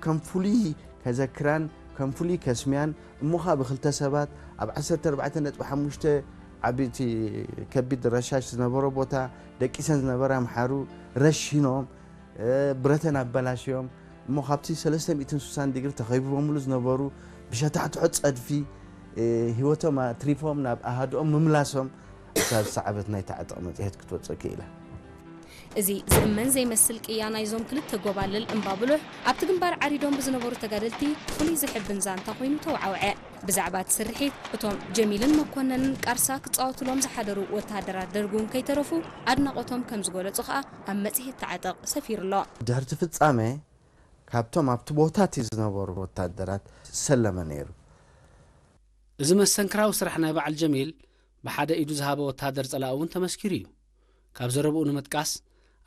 ከም ፍሉይ ከዘክራን ከም ፍሉይ ከስምያን እሞ ኸኣ ብክልተ ሰባት ኣብ ዓሰርተ ኣርባዕተ ነጥቢ ሓሙሽተ ዓቢይቲ ከቢድ ረሻሽ ዝነበሮ ቦታ ደቂሰን ዝነበራ ኣምሓሩ ረሺኖም፣ እ፣ ብረተን ኣበላሽዮም እሞ ካብቲ ሰለስተ ሚእትን ስሳን ዲግሪ ተኸቢቦምሉ ዝነበሩ ብሸታሕትሖ ጸድፊ፣ እ፣ ህይወቶም ኣትሪፎም ናብ ኣሃድኦም ምምላሶም እታ ዝሰዓበት ናይቲ ዓጠቕ መጽሔት ክትወጽእ ክኢላ። እዚ ዝእመን ዘይመስል ቅያ ናይዞም ክልተ ጎባልል እምባብሉሕ ኣብቲ ግንባር ዓሪዶም ብዝነበሩ ተጋደልቲ ፍሉይ ዝሕብን ዛንታ ኮይኑ ተወዓውዐ። ብዛዕባ እቲ ስርሒት እቶም ጀሚልን መኮነንን ቃርሳ ክጻወቱሎም ዝሓደሩ ወተሃደራት ደርግ እውን ከይተረፉ ኣድናቖቶም ከም ዝገለጹ ከኣ ኣብ መጽሔት ተዓጠቕ ሰፊሩ ኣሎ። ድሕርቲ ፍጻመ ካብቶም ኣብቲ ቦታ እቲ ዝነበሩ ወታደራት ዝሰለመ ነይሩ። እዚ መስተንክራዊ ስራሕ ናይ በዓል ጀሚል ብሓደ ኢዱ ዝሃበ ወተሃደር ጸላኢ እውን ተመስኪሩ እዩ። ካብ ዘረብኡ ንምጥቃስ፣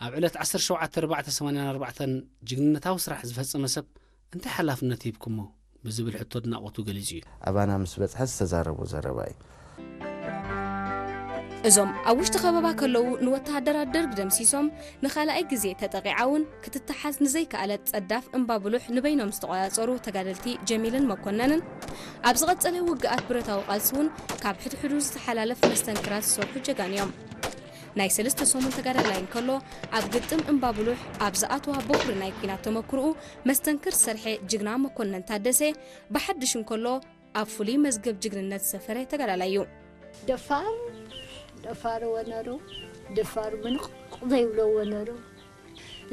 ኣብ ዕለት ዓሰርተ ሸውዓተ ኣርባዕተ ሰማንያን ኣርባዕተን ጅግንነታዊ ስራሕ ዝፈጸመ ሰብ እንታይ ሓላፍነት ሂብኩሞ ብዝብል ሕቶ ኣድናቖቱ ገሊጹ እዩ። ኣባና ምስ በጽሐ ዝተዛረቦ ዘረባ እዩ። እዞም ኣብ ውሽጢ ከበባ ከለዉ ንወተሃደራት ደርግ ደምሲሶም ንኻልኣይ ግዜ ተጠቒዓ እውን ክትተሓዝ ንዘይከኣለት ጸዳፍ እምባብሉሕ ንበይኖም ዝተቖጻጸሩ ተጋደልቲ ጀሚልን መኮነንን፣ ኣብ ዝቐጸለ ውግኣት ብረታዊ ቃልሲ እውን ካብ ሕድሕዱ ዝተሓላለፍ መስተንክራት ዝሰርሑ ጀጋኑ እዮም። ናይ ሰለስተ ሰሙን ተጋዳላይ እንከሎ፣ ኣብ ግጥም እምባብሉሕ ኣብ ዝኣተዋ በኹሪ ናይ ኲናት ተመክሮኡ መስተንክር ዝሰርሐ ጅግና መኮነን ታደሰ፣ ብሓድሽ እንከሎ ኣብ ፍሉይ መዝገብ ጅግንነት ዝሰፈረ ተጋዳላይ እዩ። ደፋር ደፋር ወነሩ ደፋር ምንቕቕ ዘይብሎ ወነሩ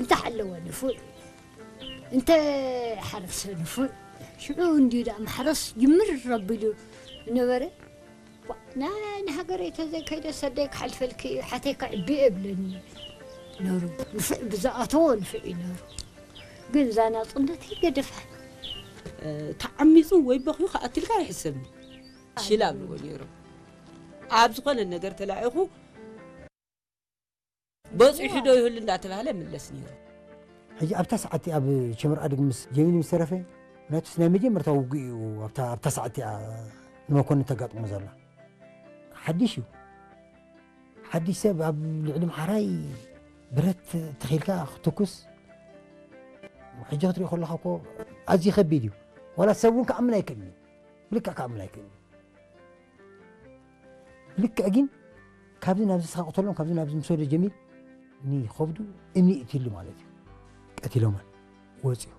እንተ ሓለወ ንፉዕ እንተ ሓረሰ ንፉዕ ሽዑ እንዲዩ ደኣ ማሕረስ ጅምር ረቢሉ ዝነበረ ዋ፣ ና ንሃገረይ ተዘይከይደ ሰደይ ክሓልፈልኪ እዩ ሓተይ ከዕቢ እብለኒ ነሩ ንፉዕ ብዝኣተዎ ንፉዕ እዩ ነሩ ግን እዛ ናፅነተይ ገደፋ ተዓሚፁ ወይ በኽዩ ክኣትልካ ኣይሕሰብን ሽላ ኣብልዎ ነይሮም ኣብ ዝኾነ ነገር ተላኢኹ በፂሑ ዶ ይህሉ እንዳተባህለ ምለስ ነይሩ ሕጂ ኣብታ ሰዓት ኣብ ሸምር ኣድግ ምስ ጀሚል ምስ ተረፈ ምክንያቱስ ናይ መጀመርታ ውግእ እዩ ኣብታ ኣብታ ሰዓት እያ ንመኮንን ተጋጥሞ ዘላ ሓድሽ እዩ ሓድሽ ሰብ ኣብ ልዕሊ ምሓራይ ብረት ተኺልካ ክትኩስ ሕጂ ክትሪኦ ከለካ እኮ ኣዝዩ ከቢድ እዩ ዋላ ሰብ እውን ክኣምን ኣይክእልን እዩ ብልክዕ ክኣምን ኣይክእልን እዩ ልክዕ ግን ካብዚ ናብዚ ስኻ ቅተሎም ካብዚ ናብዚ ምስ ወደ ጀሚል ንኸብዱ እምኒ እትሉ ማለት እዩ ቀቲሎማን ወፅዩ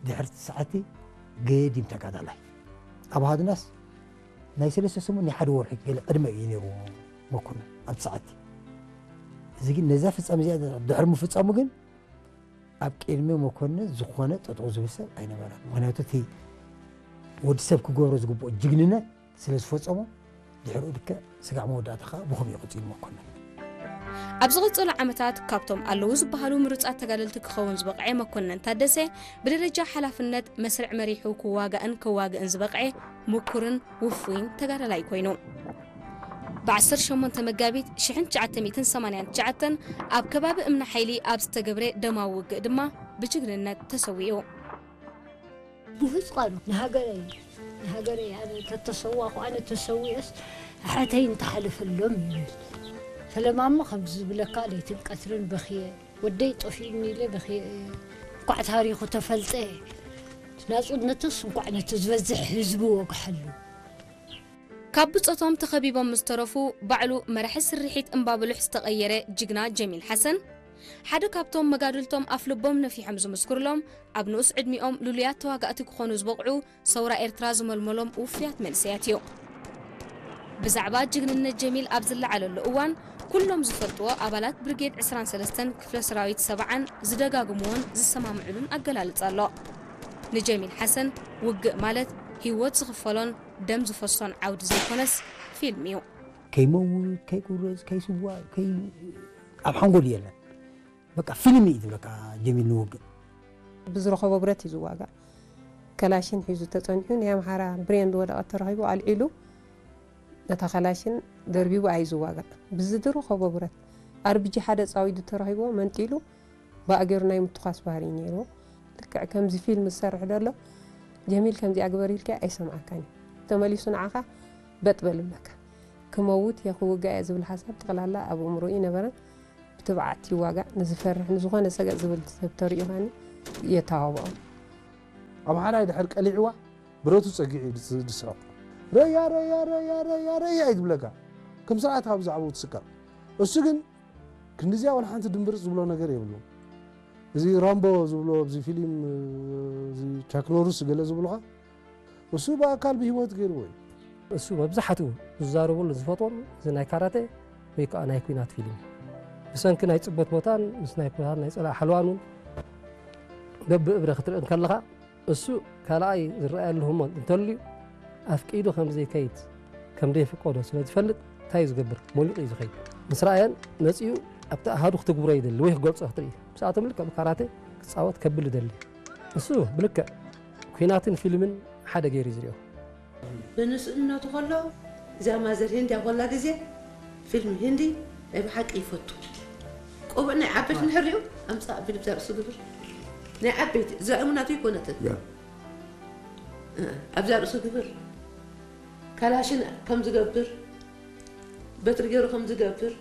ድሕርቲ ሰዓቲ ገዲም ተጋዳላይ ኣብ ሃድናስ ናይ ሰለስተ ሰሙን ናይ ሓደ ወርሒ ገለ ቅድመ እዩ ነይሩ መኮንን ኣብቲ ሰዓቲ እዚ ግን ነዛ ፍፃም እዚኣ ድሕሪ ምፍፃሙ ግን ኣብ ቅድሚ መኮንን ዝኾነ ጠጠው ዝብል ሰብ ኣይነበረን ምክንያቱ እቲ ወዲ ሰብ ክገብሮ ዝግብኦ ጅግንነት ስለ ዝፈጸሞ ድሕሪኡ ልክዕ ስጋዕ መወዳእታ ከዓ ብኸምኡ ቀጺሉ መኮንን። ኣብ ዝቐጸሉ ዓመታት ካብቶም ኣለዉ ዝበሃሉ ምሩጻት ተጋደልቲ ክኸውን ዝበቕዐ መኮነን ታደሰ ብደረጃ ሓላፍነት መስርዕ መሪሑ ክዋጋእን ከዋግእን ዝበቕዐ ምኩርን ውፉይን ተጋዳላይ ኮይኑ። ብ18 መጋቢት 1989 ኣብ ከባቢ እምኒ ሓይሊ ኣብ ዝተገብረ ደማዊ ውግእ ድማ ብጅግንነት ተሰዊኡ። ብህፅቃኑ ንሃገረይ ንሃገረይ ኣነ ተተሰዋኹ ኣነ ተሰዊኦስ ኣሓተይ እንተሓለፈሎም ይብል ፈለማሞ ከምዚ ዝብለካ ለይትን ቀትርን በኽየ ወደይ ጠፊኡኒ ኢለ በኽየ እንኳዕ ታሪኹ ተፈልጠ ናፅነትስ እንኳዕ ነቲ ዝበዝሕ ህዝቢ ወግሐሉ ካብ ብጾቶም ተኸቢቦም ምስ ተረፉ፣ ባዕሉ መራሒ ስርሒት እምባብሉሕ ዝተቐየረ ጅግና ጀሚል ሓሰን፣ ሓደ ካብቶም መጋድልቶም ኣፍልቦም ነፊሖም ዝምስክሩሎም፣ ኣብ ንኡስ ዕድሚኦም ልሉያት ተዋጋእቲ ክኾኑ ዝበቕዑ፣ ሰውራ ኤርትራ ዝመልመሎም ውፉያት መንእሰያት እዩ። ብዛዕባ ጅግንነት ጀሚል ኣብ ዝለዓለሉ እዋን፣ ኩሎም ዝፈልጥዎ ኣባላት ብርጌድ ዕስራን ሰለስተን ክፍለ ሰራዊት ሰብዓን ዝደጋግምዎን ዝሰማምዕሉን ኣገላልጻ ኣሎ። ንጀሚል ሓሰን፣ ውግእ ማለት ህይወት ዝኽፈሎን ደም ዝፈሶን ዓውዲ ዘይኮነስ ፊልም እዩ። ከይመውት ከይቁረፅ ከይስዋእ ከይ ኣብ ሓንጎል የለን በቃ ፊልም እዩ ዝብለካ ጀሚል ንውግእ ብዝረኸቦ ብረት እዩ ዝዋጋእ ከላሽን ሒዙ ተፀኒሑ ናይ ኣምሓራ ብሬን ዝወደቐት ተረኺቡ ኣልዒሉ ነታ ከላሽን ደርቢቡ ኣዩ ዝዋጋእ ብዝድረኸቦ ብረት ኣርብጂ ሓደ ፃዊዱ ተረኺብዎ መንጢሉ ብኣገሩ ናይ ምትኳስ ባህሪ እዩ ነይርዎ። ልክዕ ከምዚ ፊልም ዝሰርሕ ደሎ ጀሚል ከምዚኣ ግበር ኢልካዮ ኣይሰምዓካን እዩ። ተመሊሱ ንዓኻ በጥ በል ይብለካ። ክመውት እየ ክውጋእ እየ ዝብል ሓሳብ ጠቕላላ ኣብ ኣእምሮኡ ኣይነበረን። ብትብዓት ይዋጋእ። ንዝፈርሕ ንዝኾነ ሰገጥ ዝብል ሰብ ተሪኡ ከኣኒ የተባብዖ። ኣምሓራይ ድሕር ቀሊዕዋ ብረቱ ጸጊዑ እዩ ዝስ- ዝስሕቕ። ረያ፣ ረያ፣ ረያ፣ ረያ፣ ረያ እዩ ዝብለካ። ከም ስርዓት ካብ ብዛዕባኡ ትስቀቕ። እሱ ግን ክንዲዚኣ ወላ ሓንቲ ድምብርጽ ዝብሎ ነገር የብሉን። እዚ ራምቦ ዝብሎ ኣብዚ ፊልም፣ እዚ ቻክ ኖርስ ገለ ዝብሉኻ፣ እሱ ብኣካል ብህይወት ገይርዎ እዩ። እሱ መብዛሕትኡ ዝዛረበሉ ዝፈትዎን እዚ ናይ ካራቴ ወይ ከዓ ናይ ኲናት ፊልም እዩ። ብሰንኪ ናይ ጽበት ቦታን ምስ ናይ ኲናት ናይ ጸላኢ ሓለዋን እውን በብእብረ ክትርኢ እንከለኻ እሱ ካልኣይ ዝረኣየሉ ህሞት እንተልዩ ኣፍቂዱ ከም ዘይከይድ ከም ዘይፍቀዶ ስለ ዝፈልጥ እንታይ እዩ ዝገብር? ሞሊቑ እዩ ዝኸይድ። ምስ ረኣየን መጺኡ ኣብቲ ኣሃዱ ክትግብሮ ይደሊ ወይ ክገልጾ ክትርኢ። ምስኣቶም ልክዕ ብካራቴ ክጻወት ከብል ይደሊ። እሱ ብልክዕ ኲናትን ፊልምን ሓደ ገይሩ እዩ ዝሪኦ። ብንእስነቱ ከሎ እዛ ማዘር ሂንዲ ኣብ ኮላ ግዜ ፊልም ሂንዲ ናይ ብሓቂ ይፈቱ። ቆቡዕ ናይ ዓበይቲ እንድሕር ሪኡ ኣምጻእ ቢሉ ብዛ ርእሱ ግብር። ናይ ዓበይቲ እዛ እሙናቱ ይኮነትን። ያ። እ፣ ኣብዛ ርእሱ ግብር። ካላሽን ከም ዝገብር፣ በትሪ ገይሩ ከም ዝገብር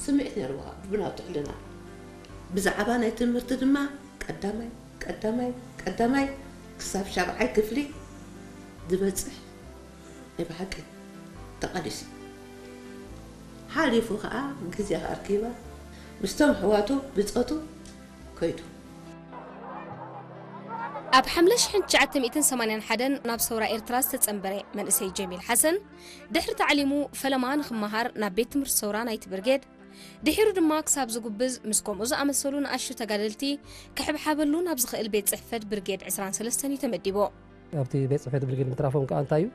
ስምዒት ነይርዎ ብናቱ ሕልና። ብዛዕባ ናይ ትምህርቲ ድማ ቀዳማይ፣ ቀዳማይ፣ ቀዳማይ ክሳብ ሻብዓይ ክፍሊ ዝበጽሕ ናይ ብሓቂ ተቓሊሱ። ሓሊፉ ኸኣ ግዜ ኣርኪባ ምስቶም ኣሕዋቱ ብጾቱ ከይዱ። ኣብ ሓምለ ሽሕን ትሽዓተ ሚእትን ሰማንያን ሓደን ናብ ሰውራ ኤርትራ ዝተጸንበረ መንእሰይ ጀሚል ሓሰን፣ ድሕሪ ታዕሊሙ ፈለማ ንኽመሃር ናብ ቤት ትምህርቲ ሰውራ ናይቲ ብርጌድ፣ ድሒሩ ድማ ክሳብ ዝጉብዝ ምስ ከምኡ ዝኣመሰሉ ንኣሽቱ ተጋደልቲ ክሕብሓበሉ ናብ ዝኽእል ቤት ጽሕፈት ብርጌድ ዕስራን ሰለስተን እዩ ተመዲቡ። ኣብቲ ቤት ጽሕፈት ብርጌድ ምትራፎም ከኣ እንታይ እዩ?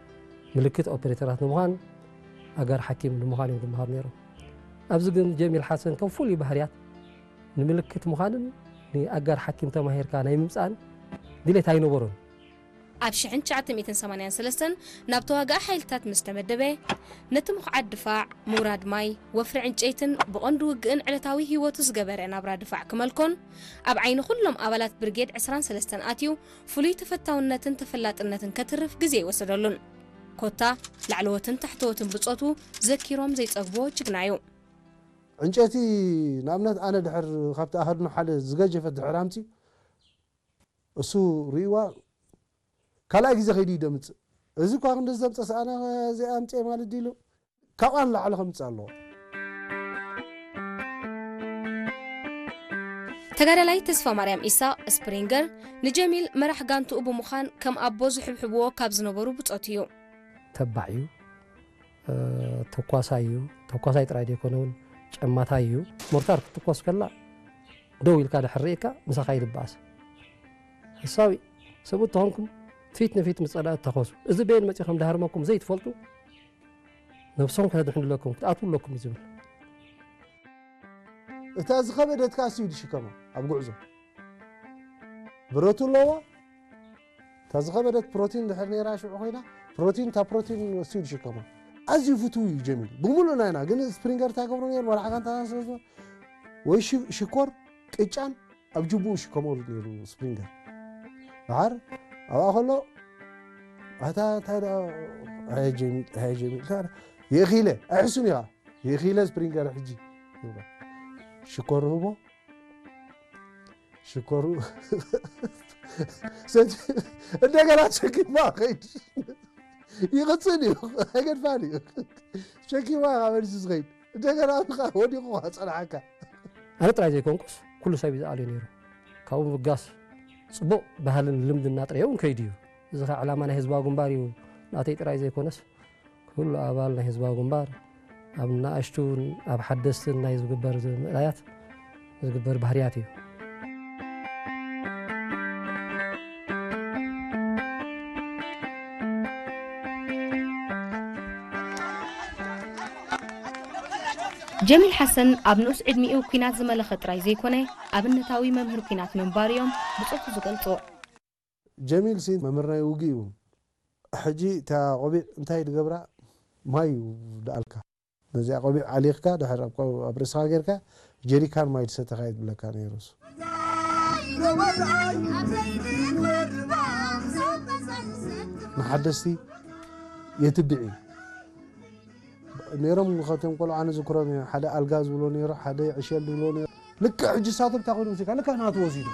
ምልክት ኦፐሬተራት ንምዃን፣ ኣጋር ሓኪም ንምዃን እዮም ዝመሃሩ ነይሮም። ኣብዚ ግን ጀሚል ሓሰን ከም ፍሉይ ባህርያት ንምልክት ምዃንን ንኣጋር ሓኪም ተማሂርካ ናይ ምምጻእን ድሌት ኣይነበሮን። ኣብ ሽሕን ትሽዓተ ሚእትን ሰማንያን ሰለስተን ናብ ተዋጋኢ ሓይልታት ምስ ተመደበ፣ ነቲ ምኹዓት ድፋዕ፣ ምውራድ ማይ፣ ወፍሪ ዕንጨይትን ብቐንዱ ውግእን ዕለታዊ ህይወቱ ዝገበረ ናብራ ድፋዕ ክመልኮን፣ ኣብ ዓይኒ ኩሎም ኣባላት ብርጌድ ዕስራን ሰለስተን ኣትዩ፣ ፍሉይ ተፈታውነትን ተፈላጥነትን ከትርፍ ግዜ ኣይወሰደሉን። ኮታ፣ ላዕለዎትን ታሕተዎትን ብጾቱ ዘኪሮም ዘይጸግብዎ ጅግና እዩ። ዕንጨይቲ፣ ንኣብነት፣ ኣነ ድሕር ካብቲ ኣሃዱና ሓደ ዝገጀፈት ድሕር ኣምጺኡ፣ እሱ ርእይዋ ካልኣይ ግዜ ከይዱ ይደምጽእ። እዚ እኳ ክንዲ ዘምጸስ ኣነ እዚኣ ኣምጽኤ ማለት ድዩ ኢሉ ካብኣ ንላዕሊ ከምጽእ ኣለዎ። ተጋዳላይ ተስፋ ማርያም ኢሳቕ ስፕሪንገር ንጀሚል መራሕ ጋንትኡ ብምዃን ከም ኣቦ ዝሕብሕብዎ ካብ ዝነበሩ ብጾት እዩ። ተባዕ እዩ። እ፣ ተኳሳይ እዩ። ተኳሳይ ጥራይ ዘይኮነ እውን ጨማታይ እዩ። ሞርታር ክትትኮስ ከላ ደው ኢልካ ድሕር ርኢካ ምሳኻ ይድበኣስ። ሓሳዊ ሰብኡት ተኾንኩም ፊት ንፊት ምስ ጸላእቲ ተኾሱ። እዚ በየን መጺኡ ከም ድሃርመኩም ዘይትፈልጡ ነብሶም ከተድሕኑ ኣለኩም፣ ክትኣትዉ ኣለኩም እዩ ዝብል። እታ ዝኸበደት ከኣ እሱ እዩ ዝሽከማ ኣብ ጉዕዞ። ብረቱ ኣለዋ። እታ ዝኸበደት ፕሮቲን ድሕር ነይራ ሽዑ ኮይና፣ ፕሮቲን፣ እታ ፕሮቲን እሱ እዩ ዝሽከማ። ኣዝዩ ፍቱው እዩ ጀሚል። ብምሉእ ናይና፣ ግን ስፕሪንገር እንታይ ገብሮ ነይሩ? መራሕ ጋንታና ስለ ዝኾነ፣ ወይ ሽ-፣ ሽኮር፣ ቅጫን ኣብ ጅቡኡ ሽከመሉ ነይሩ ስፕሪንገር። ደሓር ኣብኣ ከሎ፣ ኣታ እንታይ ደኣ፣ ኣየ ጀሚል፣ ኣየ ጀሚል፣ እንታይ ደኣ፣ የእኺለ፣ ኣይሕሱን ኢኻ፣ የእኺለ ስፕሪንገር ሕጂ። ሽኮር ህቦ፣ ሽኮሩ ሰቲ-፣ እንደገና ሸኪማ ኸይድ ይቕጽል እዩ። ኣይገድፋን እዩ። ሸኪማ ኢኻ መሊሱ ዝኸይድ። እንደገና ብኻ ወዲቑ ኸዓ ጸንሓካ። ኣነ ጥራይ ዘይኮንኩስ፣ ኩሉ ሰብ እዩ ዝኣልዮ ነይሩ። ካብኡ ምብጋስ ጽቡቕ ባህልን ልምድና ጥራይ እውን ከይዱ እዩ። እዚ ኸዓ ዕላማ ናይ ህዝባዊ ግንባር እዩ። ናተይ ጥራይ ዘይኮነስ፣ ኩሉ ኣባል ናይ ህዝባዊ ግንባር ኣብ ንኣሽቱን ኣብ ሓደስትን ናይ ዝግበር ዝ-፣ ምእላያት ዝግበር ባህርያት እዩ። ጀሚል ሓሰን ኣብ ንኡስ ዕድሚኡ ኲናት ዝመለኸ ጥራይ ዘይኮነ፣ ኣብነታዊ መምህር ኲናት ምንባሩ እዮም ብጾቱ ዝገልጹ። ጀሚል ሲ መምህር ናይ ውግእ እዩ። ሕጂ እታ ቆቢዕ እንታይ ድገብራ? ማይ እዩ ደኣልካ። ነዚኣ ቆቢዕ ኣሊኽካ፣ ድሕር ኣብ ቆ-፣ ኣብ ርእስኻ ጌርካ፣ ጀሪካን ማይ ትሰተኻ እዩ ዝብለካ ነይሩ እሱ። ንሓደስቲ የትብዕ እዩ። ነይሮም፣ ካብቶም ቆልዑ ኣነ ዝክሮም እየ። ሓደ ኣልጋ ዝብሎ ነይሩ፣ ሓደ ዕሸል ዝብሎ ነይሩ። ልክዕ ሕጂ እሳቶም እንታይ ኮይኑ ወሲድካ? ልክዕ ናቱ ወሲዱ።